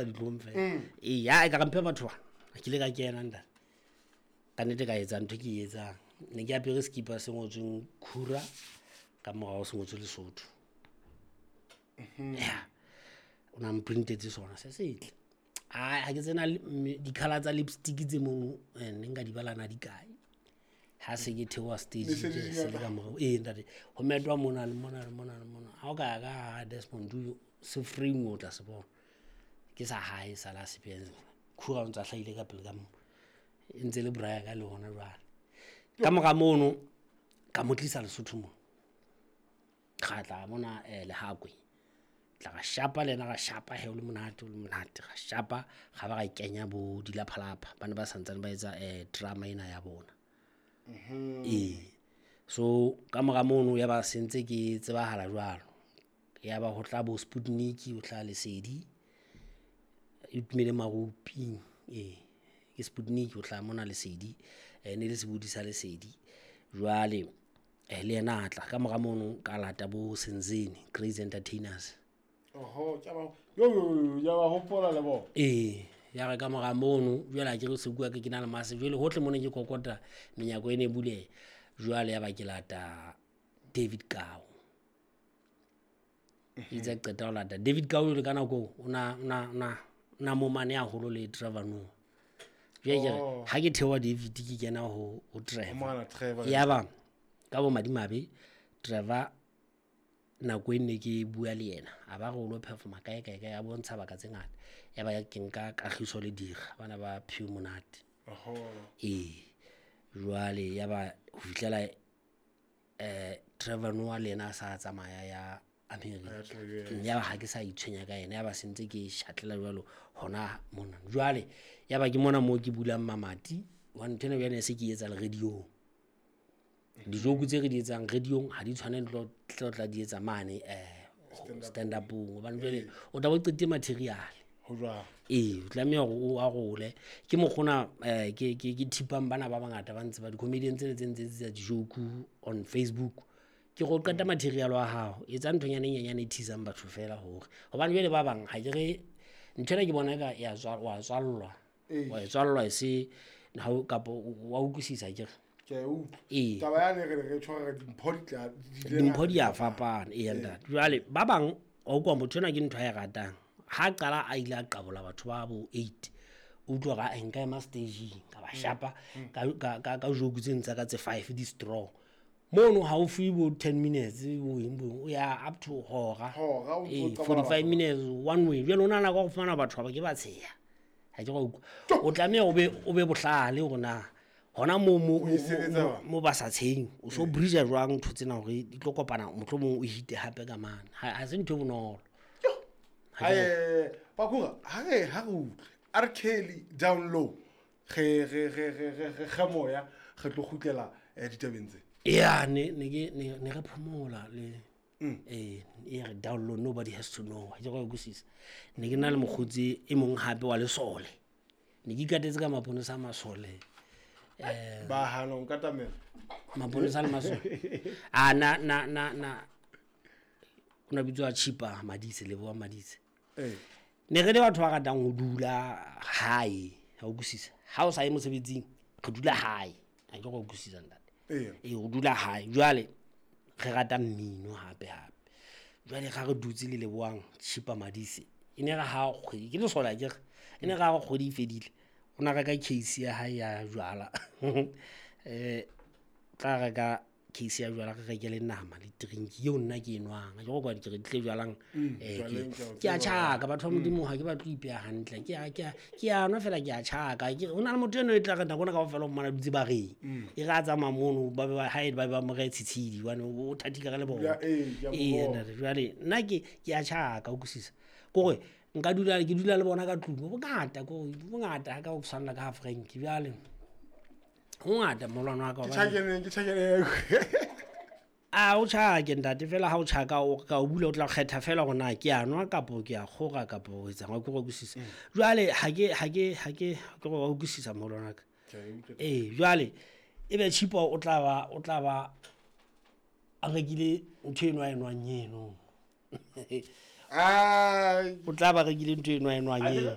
Ditlong fela. Ee, ya e ka re mphe batho bana. Ke ile ka kena, ntate. Ka nnete ka etsa ntho e ke e etsang. Ne ke apere sekipa se ngotsweng Khura, ka morao se ngotswe Lesotho. Ya, o na mprintetse sona se setle. Ai, ha ke tsena di-colour tsa lipstick tse mono, ne nka di bala na di kae. Ha se ke theoha stage, Ne se di ke se le ngata. ka morao. Ee, ntate, ho metwa mona le mona le mona le mona. Ha o ka ya ka hara Desmond Tutu, se frame o tla se bona. Ke sa hae sa la se. Khura o ntsa hlahile ka pele ka mo. E ntse le bra ya ka le hona jwale. Ka mora mono, ka mo tlisa Lesotho mona. Ra tla mona Lehakwe. Tla ra shapa le yena, ra shapa he, o le monate, o le monate. Ra shapa, ra ba ra kenya bo dilaphalapha. Ba ne ba santsane ba etsa drama ena ya bona. Ee. So ka mora mono ya ba se ntse ke tsebahala jwalo. Ya ba ho tla bo Sputnik, ho tla Lesedi. E tumele Maruping, ee. Ke Sputnik ho tla mona Lesedi. Ne le sebodi sa Lesedi. Jwale le yena a tla. Ka mora mono ka lata bo Senzeni, Crazy Entertainers. Oho, ke a ba, yo, yo, yo, ke a ba hopola le bona. Ee, ya re ka mora mono, jwale ha ke re se bua ke na le mase, jwale hohle mona ke kokota menyako e ne e buleha. Jwale ya ba ke lata David Kau. Itse ha ke qeta ho lata David Kau, jwale ka nako eo, o na momane haholo le Trevor Noah. Jwale ke re, ha ke theoha David ke kena ho Trevor. Mona Trevor. Ya ba ka bo madimabe Trevor nako e ne ke bua le yena, a ba re o lo performa kae kae kae, a bontsha baka tse ngata. Ya ba ke nka Kagiso le Dira, bana ba Phew Monate. Ee, jwale ya ba ho fihlela Trevor Noah le yena a sa tsamaya ya America. Ya Ya ba ha ke sa itshwenya ka yena, ya ba se ntse ke shatlela jwalo hona mona. Jwale ya ba ke mona moo ke bulang mamati, hobane ntho ena jwale e se ke etsa le radio-ong. Dijoke tse re di etsang radio-ong ha di tshwane le tlo tla di etsa mane stand up-ong, hobane jwale o tla bo qetile material. Ho jwang? Ee, o tlameha hore o arole. Ke mokgona ke thipang bana ba bangata ba ntse ba di-comedian tsena tse ntse tsa dijoke on Facebook. Ke go qeta material wa hao, etsa nthonyana e nyenyane e thisang batho fela hore. Hobane jwale ba bang ha ke re ntho ena ke bona eka ya wa tswallwa. Wa e tswallwa e se ha o, kapa wa utlwisisa ke re. Ke a e utlwa. Ee. Taba yane re tjho re dimpho di tla, di ile Dimpho di a fapana, ee, ntate. Jwale ba bang wa utlwa motho enwa ke ntho a e ratang. Ha qala a ile a qabola batho ba bo 8. O utlwa hore, ah, nka ema stageng, ka ba shapa, ka joke tse ntsa ka tse 5 di strong. Mono ha o fuwe bo 10 minutes, bo eng bo eng, o ya up to hora. Hora, o ntso Ee, qabala 45 batho. minutes one way. Jwale o nahana ka ho fumana batho ba ke ba tsheha. Ha ke go utlwa. O tlameha o be bohlale hore na hona O e sebetsa jwang? mo ba sa tsheheng, o so bridge jwang ntho tsena hore di tlo kopana, mohlomong o hite hape ka mane. Ha se ntho e bonolo. Ha ke Bakura, ha re utlwe, R. Kelly down low, re kge moya, re tlo kgutlela ditabeng tse. Ya, ne ke, ne re phomola le, ee, e re down low, nobody has to know. Ha ke go utlwisisa. Ne ke na le mokgotsi e mong hape wa lesole. Ne ke ikatetse ka maponesa a masole. Ba hana ho nkatamela. Maponesa le masole. Ah, na, na, na, na. O na bitswa Chipa Madise, Leboha Madise. Ne re le batho ba ratang ho dula hae, ha o utlwisisa. Ha o sa ye mosebetsing, re dula hae. Ha ke go utlwisisa, ntate. Ee, o dula hae. Jwale re rata mmino hape hape. Jwale ga re dutse le Lebohang Chipa Madise, e ne re ha kgwedi, ke lesole akere, e ne re ha kgwedi e fedile, o na reka case ya hae ya jwala. Tla reka case ya jwala, re reke le nama le drink eo nna ke e nwang. Ha ke go kwa ke re tle jwalang, Jwaleng ke a o ke a tseba. tjhaka, batho ba Modimo ha ke batle ho ipeha hantle. Ke a nwa fela, ke a tjhaka. Ke re, ho na le motho eno e tla re nako ena kaofela o mmona dutse bareng. E re a tsamaya mono, ba be ba, hae, ba be ba mo rehe tshitshidi, hobane o thathile ka lebone. Ya, ee, ke a mo Ee, bona. ntate, jwale nna ke a tjhaka, o utlwisisa. Ke hore nka dula, ke dula le bona ka tlung, bo bongata, ke hore bo bongata ha ka o tshwanela ka ha Frank. Jwale ho ngata molwana wa ka, Ke hobane tjhakeneng, ke tjhakeneng. A o tjhake ntate, fela ha o tjhaka o ka o bula, o tla kgetha fela hore na ke a nwa kapo ke a kgora kapo o etsang, wa ke utlwisisa. Jwale ha ke, ha ke, ha ke, ke go utlwisisa molwana wa ka. Ke a e utlwa. Ee, jwale e be Chipa o tla ba a rekile ntho eno a e nwang eno. Ai. O tla ba rekile ntho eno a e nwang eno.